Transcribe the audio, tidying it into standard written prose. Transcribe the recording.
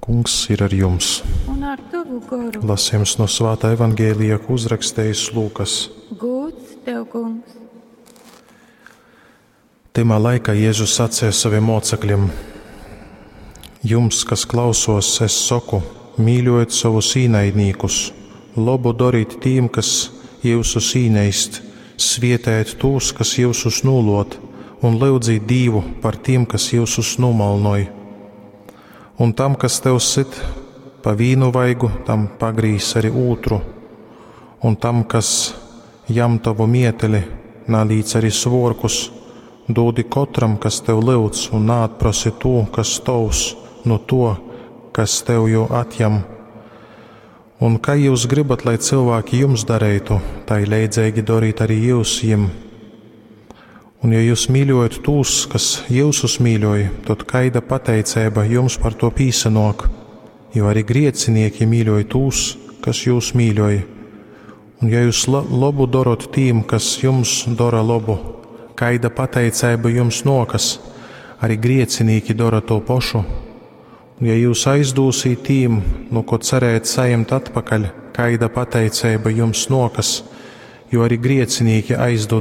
Kungs ir ar jums. Un ar tovu goru. Lasījums no Svātā Evangēlija, ko uzrakstījis Lūkas. Gūds tev, kungs. Tymā laikā Jēzus sacīja saviem mocekļiem: Jums, kas klausos, es saku, mīļojiet savus īnaidnīkus, labu dariet tīm, kas jūsus īneist, svietējiet tūs, kas jūsus nūlot, un lyudzīt Dīvu par tiem, kas jūsus nomalnoj. Un tam, kas tev sit pa vīnu vaigu, tam pagrīz arī ūtru, un tam, kas jam tavu mieteli, nalīdz arī svorkus, dūdi kotram, kas tev lyudz, un naatprasi tū, kas tovs, no to, kas tev jū atjam. Un kā jūs gribat, lai cilvēki jums darītu, tai leidzīgi darīt arī jūs jim. Un ja jūs mīļojat tūs, kas jūsus mīļoj, tad kaida pateicība jums par to pīsanok, jo arī griecinieki mīļoj tūs, kas jūs mīļoj. Un ja jūs labu darot tīm, kas jums dara labu, kaida pateicība jums nokas, arī griecinīki dara to pašu. Un ja jūs aizdūsīt tīm, nu ko cerējat saņemt atpakaļ, kaida pateicība jums nokas, jo arī griecinīki aizdod.